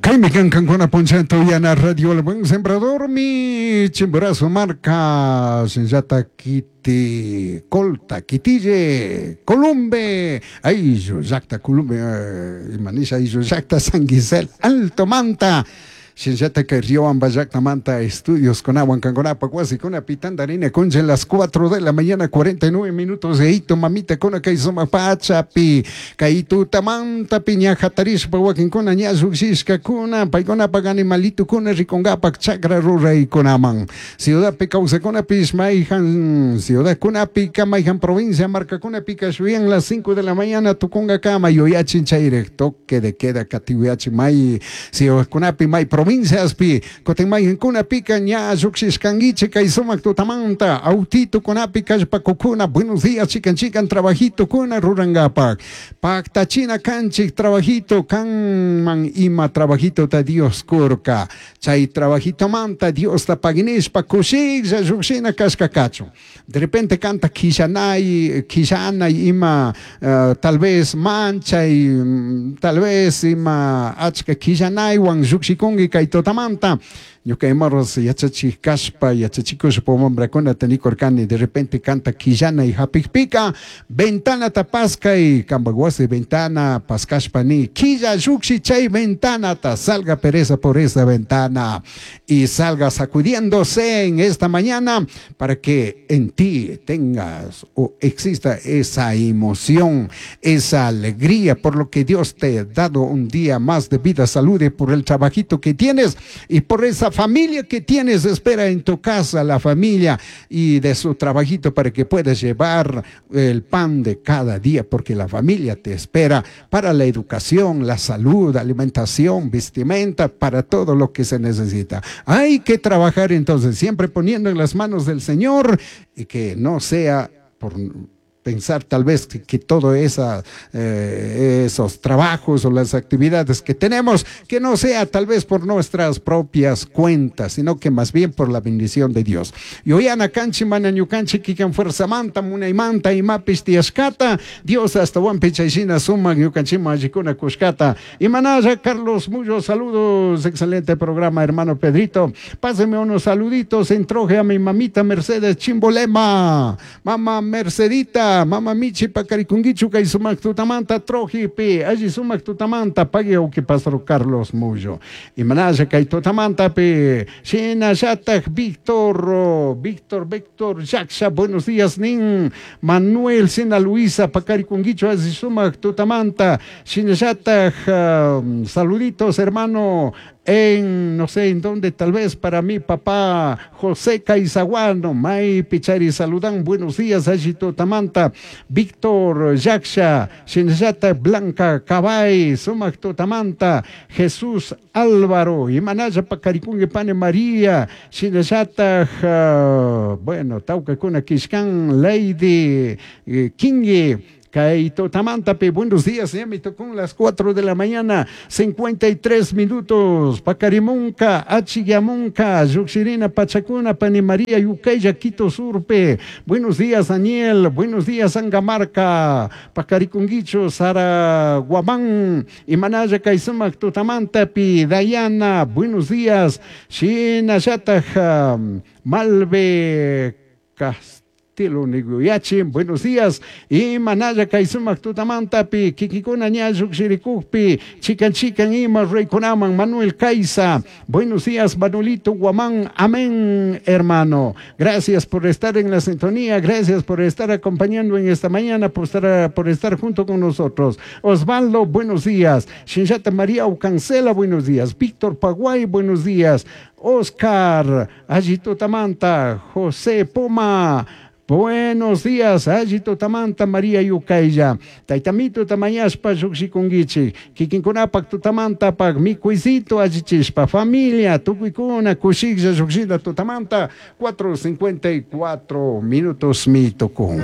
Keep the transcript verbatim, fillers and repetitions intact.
Kaymi kan kankuna punchanta uyana Radio El Buen Sembrador mi Chimborazo marka shinallata kiti Colta, Quitille, Columbe, ayllu llakta Columbe, eh, imanisha ayllu llakta San Gisel, Alto Manta. Shinallata kay Riobamba llaktamanta estudios kunawan kankunapak wasikunapi tantarina kuncha las cuatro de la mañana cuarenta y nueve minutos de hito mamita kuna kay sumak pachapi kay tutamantapi ña hatarishpa wakinkuna ña llukshishkakuna paykunapak animalitukuna rikunkapak chakra ruraykunaman ciudadpi kawsakunapish mayjan ciudadkunapika mayjan provincia markakunapika shuyan las cinco de la mañana tukunkakama yuyachin chayrik toque de queda katiwiyachin may ciudadkunapi may provinciaspi kutin mayjankunapika ña llukshishkankichik kay sumak tutamanta autitukunapi kallpakukuna. Buenos días, chikan chikan trabajitukuna rurankapak paktachina kanchik trabajito kanman ima trabajitota Dios kurka chay trabajitomanta Diosta paginishpa kushiklla llukshina kashka kachun. De repente kanta kishanay kishanay ima uh, tal vez manchay mm, tal vez ima achka kishanaywan llukshikunki kay tutamanta. Ñuka imaros yachachik kashpa yachachikushpa wambrakunata nikurkani: de repente kanta kishanay hapikpika ventanata paskay, kampak wasi ventana paskashpa ni killa llukshi chay ventanata, salga pereza por esa ventana y salga sacudiéndose en esta mañana para que en ti tengas o exista esa emoción, esa alegría por lo que Dios te ha dado un día más de vida, salud y por el trabajito que tienes y por esa familia que tienes, espera en tu casa la familia y de su trabajito para que puedas llevar el pan de cada día, porque la familia te espera para la educación, la salud, alimentación, vestimenta, para todo lo que se necesita. Hay que trabajar entonces, siempre poniendo en las manos del Señor y que no sea por pensar tal vez que, que todo esa, eh, esos trabajos o las actividades que tenemos, que no sea tal vez por nuestras propias cuentas, sino que más bien por la bendición de Dios. Yuyana kanchik mana ñukanchik kikin fuerzamanta, munaymanta, imapish tiyashkata, Dios ashtawanpish chayshina sumak ñukanchikman allikuna kushkata. Imanalla Carlos Mullo, saludos, excelente programa, hermano Pedrito. Páseme unos saluditos, entroje a mi mamita Mercedes Chimbolema, mamá Mercedita, mama Michi pakarikunkichu kay sumak tutamanta trojipi, alli sumak tutamanta, pagui uki pastor Carlos Mullo. Imanalla kay tutamantapi, shinallatak Víctor, Víctor, Víctor Yaksha, buenos días, nin Manuel Sina Luisa, pakarikunkichu alli sumak tutamanta, shinallatak um, saluditos, hermano, en no sé en dónde, tal vez para mi papá José Caizaguano, May Pichari saludan, buenos días, alli tutamanta, Víctor Yaksha, Shinallata Blanca Cabay, Sumak tutamanta, Jesús Álvaro, Imanaya Pacarikungue Pane María, Shinallata, uh, bueno, Taucacuna Kishkan, Lady eh, Kingi, kay tutamantapi, buenos días, ya me tocó las cuatro de la mañana, cincuenta y tres minutos. Pakarimunka, Achiyamunka, Yuxirina, Pachacuna, Pani María, Yucaya, Quito Surpe. Buenos días, Daniel. Buenos días, Angamarca, Pacarikunguicho, Sara Guamán, Imanaya kay sumak tutamantapi, Dayana, buenos días, Shina Yataja, Malve Castillo. Niguyachi, buenos días. Imanalla kay sumak tutamantapi, kikikuna ña llukshirikukpi, chikan chikan ima reykunaman, Manuel Caiza. Buenos días, Manuelito Guamán. Amén, hermano. Gracias por estar en la sintonía, gracias por estar acompañando en esta mañana, por estar, por estar junto con nosotros. Osvaldo, buenos días. Shinshata María Ucancela, buenos días. Víctor Paguay, buenos días. Oscar, alli tutamanta, José Poma. Buenos días, alli tutamanta María Yukaya. Taytamito tamañashpa llukshikunkichik. Kikinkunapak tutamantapak mikuysito allichishpa. Familia, tukuykuna, kushiklla llukshita tutamanta. cuatro cincuenta y cuatro minutos mi tukun.